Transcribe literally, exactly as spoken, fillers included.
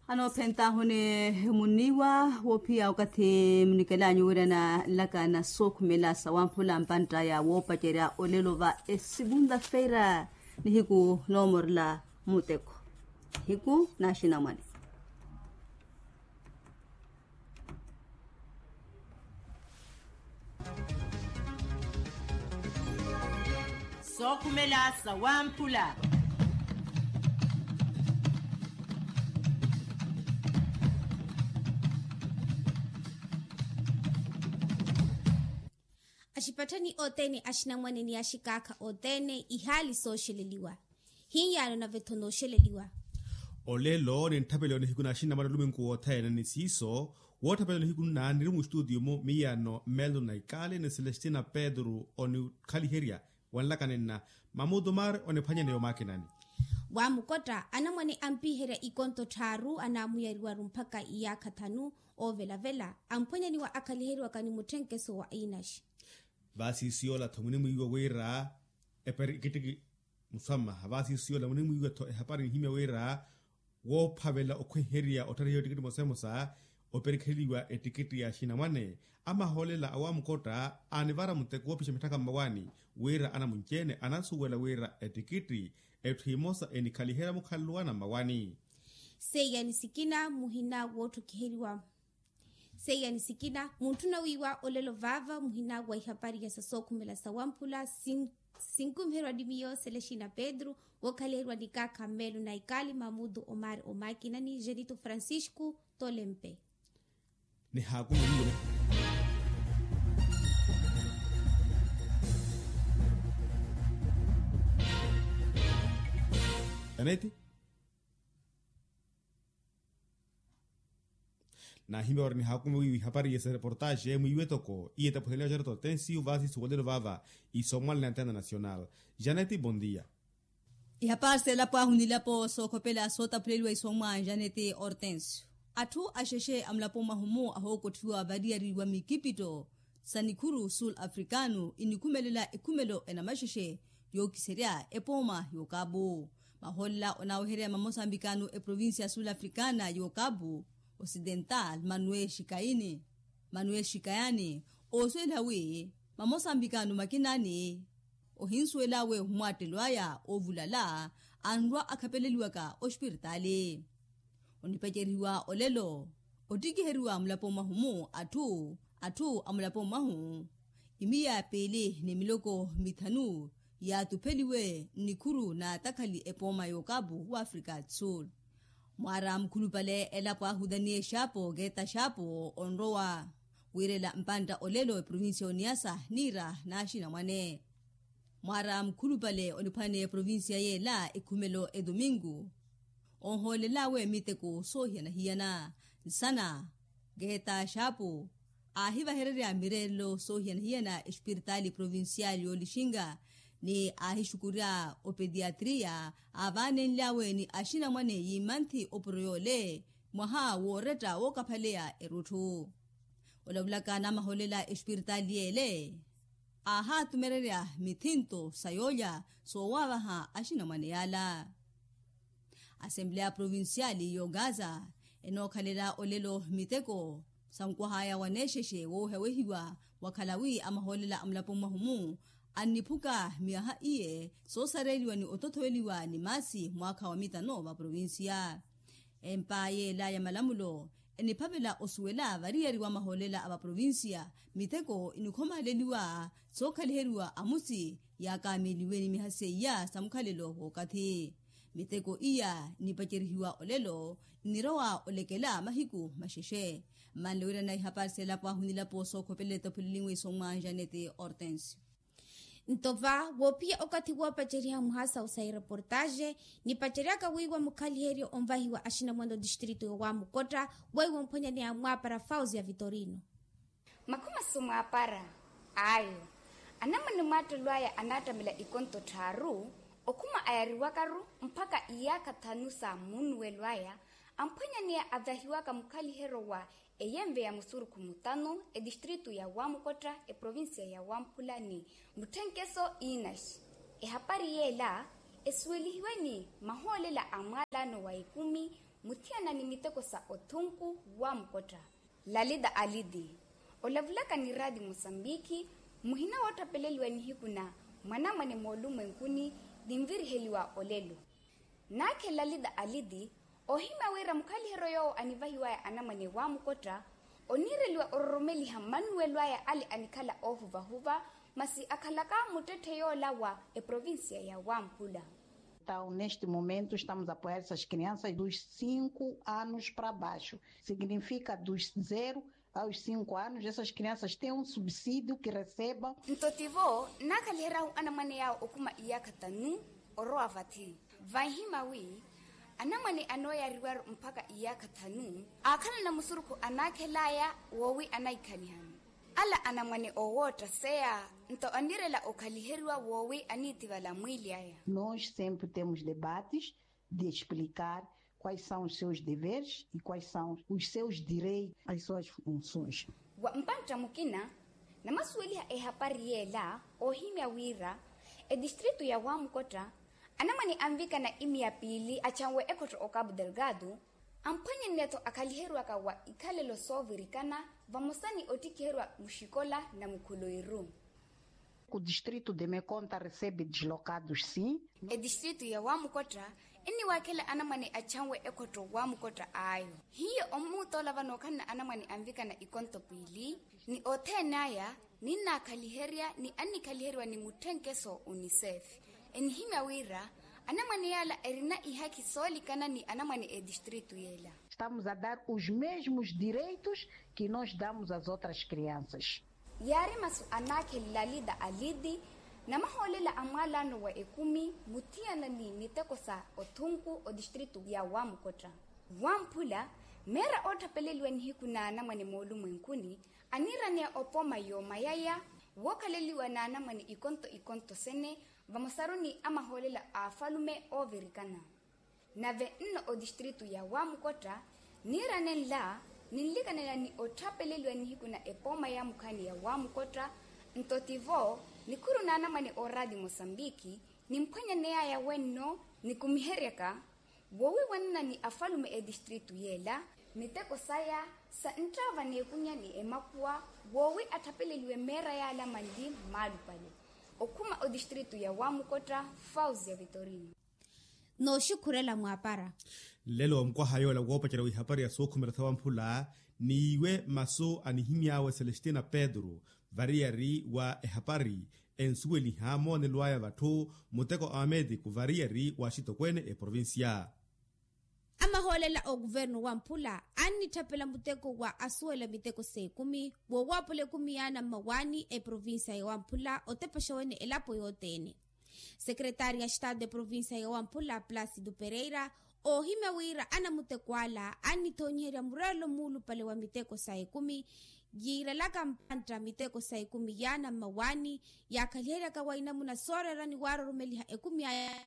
Anoophentahuni muniiwa woophiya okathi munikelanyu wira na nlaka na sookhumela sawamphula mpantta ya woopacerya olelo va esivunta feira nihiku noomorela muteko nihiku na axinamwane. Sookhumela sawamphula. Axipatthani othene axinamwane ni axikaakha othene ihaali sooxeleliwa. Hiyaano nave-tho nooxeleliwa. Olelo nintthapeleliwa nihiku na axinamwane oluminku wothene ni siiso wootthapeleliwa nihiku nna niri mustutiyo-mu miyaano melton naikali ni celestina pedro onikhaliherya. Wanlaka ninna mamutumari oniphwanyaneya omaakinani. Waamukotta anamwane ampiherya ikonto tthaaru anaamuyariwaru mpakha iyaakha thanu. Oovelavela amphwanyaniwa akhaliheriwaka ni mutthenkeso wa inaxi. Vaasiisi yoola-tho munimwiiwa wira epari ekittiki muswamaha vaasiisi yoola munimwiiwa-tho ehapari nihimya wira woophavela okhwenherya otthariha ettikitti emosa emosa operikheliwa ettikitti ya axinamwane. Amahoolela awamukotta aanivara muteko woopixa mitthaka mmawaani wira anamunci-ene anasuwela wira ettikitti etthu emosa enikhaliherya mukhalelo wana mmawaani. Seiya ni sikina muhina wootthokiheriwa. Seiya ni sikina muntthuna wiiwa olelo vaava muhina wa ihapari ya sasookhumela sawamphula sinkumiherwa ni miyo selexina pedro wookhaliheriwa ni kaakha mmeelo na ikaali mamutu omari omaakina ni jenito francisco tolempe. Nihaakume wiiwe. Janeti. Naahimya wari nihaakume wiiwe ihapari ya esereportaxe mwiiwe toko iye tapuheliwa jareto tensiu vaasi suwolelo vaava. Isomwale na antena nasional. Janeti bondia. Ihapari seelapo ahu nilapo sookhopela sootaphuleliwa isomwa janeti hortensio. Atthu axexe a mulapo mwahu-mu ahookotthiwa variyari wa mikipitto sa nikhuru sul africano inikhumelela ekhumelo enamaxexe yookiserya epooma y'okapu. Mahoolela onaaweherya mamosambikano eprovincia sul africana y'okapu osidental manuel xikayani oosuwela wi mamosambikano makinaani ohinsuwel'awe ohumwattelw'aya oovulala anrwa akhapeleliwaka ospiritaali. Onipacerihiwa olelo ottikiheriwa mulapo mwahu-mu atthu atthu a mulapo mwahu imiya piili ni miloko mithanu yaatupheliwe nnikhuru naatakhali epooma y'okapu w'afrika sul. Mwaara mukhulupale elapo ahu daniel xaapo keeta xaapo onrowa wiirela mpantta olelo eprovincia y'oniyasa niira n'axinamwane. Mwaara mukhulupale oniphwaneya eprovincia yeela ekhumelo edomingu onhoolel'awe miteko soohiyana-hiyana nsana keeta xaapo aahivahererya mireerelo soohiyana-hiyana espiritaali provincial y'olixinga ni aahixukurya opediatria aavaanenly'awe ni axinamwane yiimanthi opuro yoole mwaha wooretta wookaphaleya erutthu. Olavulaka namahoolela espiritaali yeele aahaatumererya mithinto sa yoolya soowavaha axinamwane yaala. Asempleya provincial y'ogaza enookhalela olelo miteko sankwah'aya waneexexe woowehawehiwa wakhala wi amahoolela a mulapo mwahu-mu anniphuka miyaha iye soosareeliwa ni otothoweliwa ni maasi mwaakha wa mitano va provincia. Empa yeela ya malamulo eniphavela osuwela variyari wa mahoolela a vaprovincia miteko inikhomaaleliwa sookhaliheriwa amusi yaakaameliwe ni miha seiya sa mukhalelo w'okathi. Miteko iya nipacerihiwa olelo nnirowa olekela mahiku maxexe. Mmanle wirana ihapari seelapo ahu nilapo sookhopelele tophuleliwe isomwa janete hortensio. Nto va woophiya okathi woopaceriha muhasa osa ereportaxe nipaceryaka wiiwa mukhaliheryo onvahiwa axinamwane otistrito yowamukotta weiwo omphwanyaneya mwaapara fauzi ya vitorino. Makhumasu mwaapara ayo anamwane mwaattelo aya anaattamela ikonto tthaaru okhuma ayariwakaru mpakha iyaakha thanu sa munnuwelo aya amphwanyaneya avahiwaka mukhaliheryo wa eyenve ya musurukhu mutano etistritu ya wamukotta eprovincia ya wamphula ni mutthenkeso inaxi. Ehapari yeela esuwelihiwe ni mahoolela a mwaalano wa ikumi Muthiyana ni miteko sa othunku wa mukotta. Lalita aliti olavulaka ni raati mosambiki, muhina woottapeleliwa nihiku na mwanamwane moolumwenkuni, ninviriheliwa olelo. Naakhe lalita aliti oohimya wira mukhaliheryo yoowo anivahiwaya anamwane wa mukotta, oniireliwa ororomeliha mmannuwelo aya ale anikhala oohuvahuva, masi akhalaka muttetthe yoola wa eprovincia ya wamphula. Entaw neste momento estamos a apoiar essas crianças dos cinco anos para baixo, significa dos zero aos cinco anos essas crianças têm um subsídio que recebam. Nto tivo naakhaliheryahu anamwane yaawo okhuma iyaakha tanu orowa vathi, vanhima wi anamwane anooyariwaru mpakha iyaakha thanu aakhalana musurukhu anaakhelaya woowi anaikhaliha-ni. Ala anamwane oowootta seya nto anirela okhaliheriwa woowi aniitivala mwiili aya. Nós sempre temos debates de explicar quais são os seus deveres e quais são os seus direitos, as suas funções. Wa mpantta mukina namasuweliha ehapari yeela oohimya wira etistritu ya wamukotta anamwane anvikana imiya piili achanwe ekhotto o cabo delgado, amphwanyenneya-tho akhaliheriwaka wa ikhalelo soovirikana vamosa ni ottikhiheriwa muxikola na mukhuloiru. Ku distrito de mekonta recebe dislocados sim. Etistritu ya wamukotta enniwaakhela anamwane achanwe ekhotto wamukotta ayo hiyo omuutoola vano okhalana anamwane anvikana ikonto piili ni othene aya ninnaakhaliherya ni annikhaliheryiwa ni mutthenkeso unicef. Enihimya wira anamwane yaala erina ihakhi soolikana ni anamwane etistritu yeela. Estamos a dar os mesmos direitos que nós damos as outras crianças. Yaari masu anaakhe lalita aliti namahoolela a mwalaano wa ekumi muthiyana ni miteko sa othunku otistritu ya wamukotta wamphula meera ootthapeleliwa nihiku n'anamwane moolumwenkuni aniiraneya opooma yoomayaya wookhaleliwa n'anamwane ikonto ikonto sene vamosaruni a mahoolela a afalume oovirikana. Nave nno otistritu ya wamukotta niirane nla ninlikanela ni otthapeleliwa nihiku na epooma ya mukhaani ya wamukotta nto tivo nikhuru n'anamwane ooraati mosambiki nimphwanyaneyaya wenno nikumiheryaka woowiwanana ni afalume etistritu yeela miteko saya sa nttaava n'ekunya ni emakhuwa woowi atthapeleliwe meera yaala manli mmaalupale okhuma otistritu ya wamukotta. Fausia vitorino. Nooxukhurela mwaapara nlelo wa mukwaha yoola woopacerya wa ihapari ya sookhumela sa wamphula n'iwe masu anihimy'awe celestina pedro variyari wa ehapari ensuweliha moonelo aya vatthu muteko a ametiku variyari wa axitokweene eprovincia. Amahoolela a okuvernu wamphula annitthapela muteko wa asuwela miteko s'ekumi woowaapula ekumi y'ana mmawaani eprovincia ya wamphula otepexa wene elapo yothene. Sekretaari ya estado eprovincia ya wamphula placido pereira oohimya wira anamuteko ala annithoonyiherya murelo muulupale wa miteko sa ekumi yiirelaka mpantta miteko sa ekumi y'ana mmawaani yaakhaliheryaka wa inamuna sooreerani waaroromeliha ekumi aya